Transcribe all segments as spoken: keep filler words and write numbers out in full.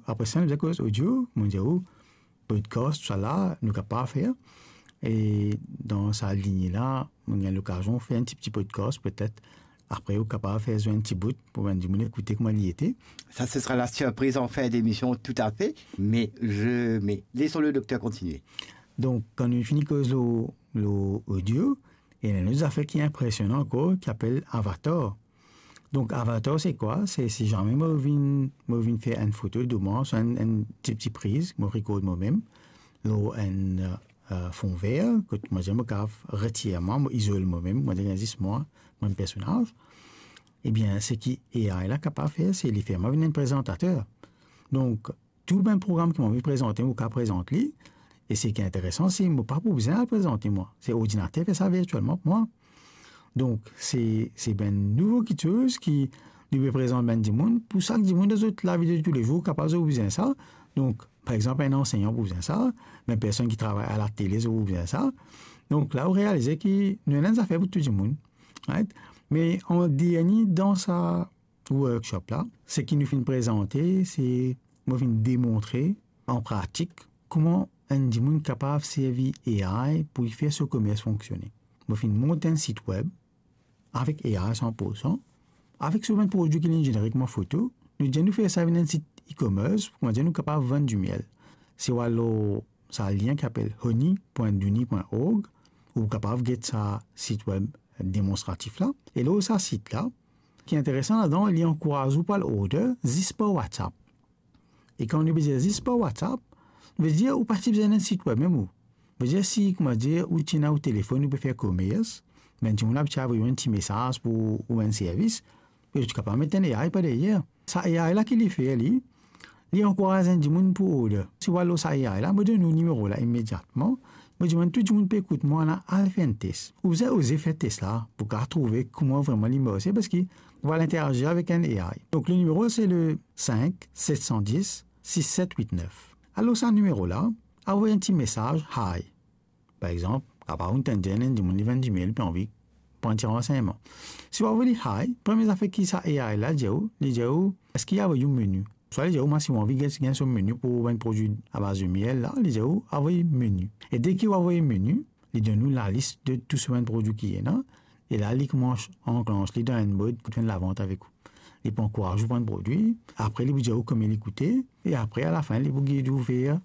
apre sa, nou bizin koz audio, mo dir ou, podcast, tousala, nou kapav fer. E dan sa linie la, mo gagn lokazion fer enn ti, ti podcast, petet. Apre, ou kapav fer zwenn enn ti bout pou bann dimoun ekoute kouma li ete. Ça, ce sera la surprise en fin d'émission, tout à fait. Mais je, mais laissons le docteur continuer. Donk, kan nou fini koz lor, lor audio, ena enn lot zafer ki inpresionan ankor, ki apel avatar. Donk, avatar, se kwa? Se si zame mo vinn, mo vinn fer enn foto de mwa, swa enn, enn ti, ti priz, mo rekord momem, lor enn, eh, fon ver, kot mo dir mo kapav retir mwa, mo izol momem, mo dir zis mwa, mo personaz. Ebien, seki A I la kapav fer, se li fer mwa vinn enn prezantater. Donk, tou bann program ki mo anvi prezante, mo kapav prezant li. E seki interesan, se mo pa pou bizin al prezante mwa. Se ordinater fer sa virtielman pou mwa. Donk, se, se bann nouvo kiksoz ki nou pe prezant bann dimoun. Pou sak dimoun dan zot lavi de toulezour, kapav zot bizin sa. Donk, par exanp, enn ansegnan pou bizin sa, bann personn ki travay alatele, zot pou bizin sa. Donk, la, ou realize ki nou ena enn zafer pou tou dimoun. Right? Me an dernie, dan sa workshop la, seki nou finn prezante, se mo finn demontre an pratik kouma enn dimoun kapav servi A I pou li fer so komers fonksione. Mo finn mont enn sit web avek A I san pour san, avek so bann prodwi ki li inn zenere kouma foto, nou dir nou fer sa vinn enn sit e-commerce, kouma dir nou kapav vann dimiel. Si ou al lor sa lien ki apel honey point dooney point org, ou kapav get sa sit web demonstratif la. E lor sa sit la, ki interesan ladan, li ankouraz ou pou al order zis par WhatsApp. E kan nou pe dir zis par WhatsApp, vedir ou pa ti bizin enn sit web mem ou. Vedir si, kouma dir, ou ti ena ou telefonn, ou pe fer komers, bann dimoun la ti avoy ou enn ti mesaz pou ou enn servis, e ou ti kapav met enn A I par deryer. Sa A I la ki li fer li, li ankouraz enn dimoun pou order. Si ou al lor sa A I la, mo donn ou nimero la imediatman. Mo dimann tou dimoun pe ekout mwa la, al fer enn tes. Ou bizin oze fer tes la pou kapav trouve kouma vreman li marse, parski ou al interazir avek enn A I. Donk, le nimero, se le cinq sept cent dix six sept huit neuf. Al lor sa nimero la, avoy enn ti mesaz hi. Par exanp, kapav ou tann dir enn dimoun li vann dimiel, li pe anvi pran ti ransegnman. Si ou avoy li hi, premie zafer ki sa A I la dir ou, li dir ou, eski avoy ou meni? Swa li dir ou, mwa, si ou anvi gagn, gagn so meni pou bann prodwi abaz dimiel la, li dir ou, avoy meni. E deki ou avoy meni, li donn ou lalis de tou so bann prodwi ki ena, e la, li koumans anklansh li dan enn mod kot fer enn lavant avek ou. Li pou ankouraz ou pran prodwi, apre li pou dir ou konbien li koute, e apre, alafin, li pou gid ou ver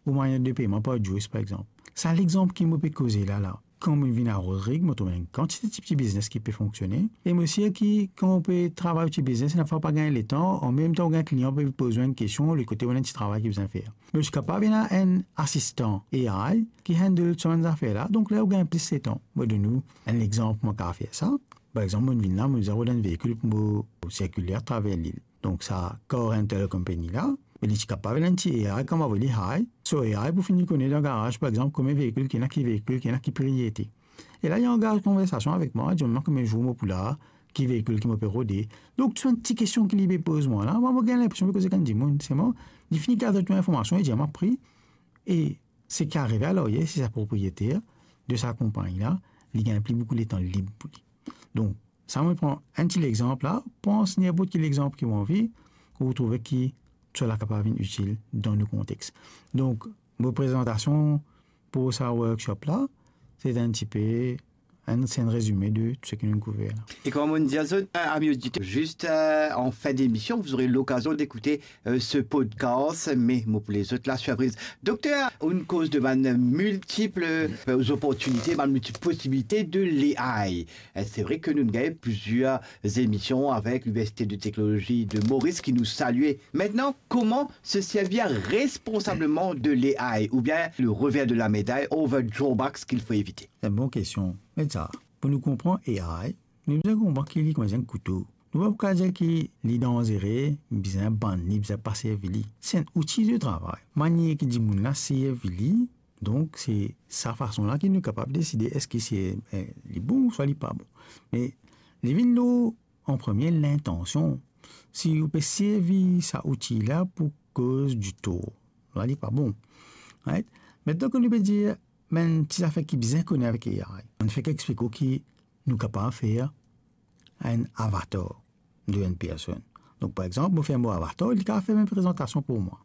ou manier de peyman par Juice, par exanp. Sa lexanp ki mo pe koze la la. Kan mo vinn a Rodrig, mo trouv enn kantite ti, ti biznes ki pe fonksione. E mo sir ki, kan ou pe travay ti biznes, enn fwa ou pa gagn letan, an mem tan ou gagn klian pe poz ou enn kestion, lot kote ou ena enn ti travay ki bizin fer. Me ou ti kapav ena enn asistan A I ki handle sa bann zafer la, donk la ou gagn plis letan. Mo donn ou enn lexanp, mo kapav fer sa. Par exanp, mo vinn la, mo bizin rod enn veikil pou mo sirkile atraver lil. Donk sa car rental company la, me li ti kapav ena enn ti A I, kan mo avoy li hi, so A I pou fini kone dan garaz, par exanp, konbien veikil ki ena, ki veikil ki ena, ki pri li ete. E la, li angaz konversasion avek mwa, dir mwa konbien zour mo pou la, ki veikil ki mo pe rode. Donk, tou enn ti kestion ki li pe poz mwa la, mwa, mo gagn linpresion pe koz ek enn dimoun, selman, li fini gard tou linformasion, li dir mwa pri, e seki arive alaryer, se sa propriyeter de sa konpagni la, li gagn pli boukou letan lib pou li. Donk, sa mo pran enn ti lexanp la, pran ninport ki lexanp ki ou anvi, ou trouve ki sa la kapav vinn itil dan nou kontex. Donk, mo prezantasion pou sa workshop la, se enn tipe enn, se enn rezime de tou seki nou kouver la. Et comme on dit à zot, euh, amis auditeurs, juste, euh, en fin d'émission, vous aurez l'occasion d'écouter, euh, ce podcast, mais mo pou les autres, la surprise. Docteur, on cause de bann multiples, euh, opportunités, bann multiples possibilités de l'A I. Euh, c'est vrai que nous gagnons plusieurs émissions avec l'Université de technologie de Maurice qui nous salue. Maintenant, comment se servir responsablement de l'A I, ou bien le revers de la médaille, ou the drawbacks qu'il faut éviter? Se enn bon kestion. Me sa, pou nou konpran A I, nou bizin konpran ki li kouma enn kouto. Nou pa pou kapav dir ki li danzere, bizin bann li, bizin pa servi li. Se enn outi de travay. Manier ki dimoun la servi li, donk se sa fason la ki nou kapav deside eski se, eh, li bon, swa li pa bon. Me li vinn lor an premie lintansion. Si ou pe servi sa outi la pou koz ditor, la li pa bon. Right? Aster kan nou pe dir, bann ti zafer ki bizin kone avek A I, mo fek explik ou ki nou kapav fer enn avatar de enn personn. Donk, par exanp, mo fer mo avatar, li kapav fer bann prezantasion pou mwa.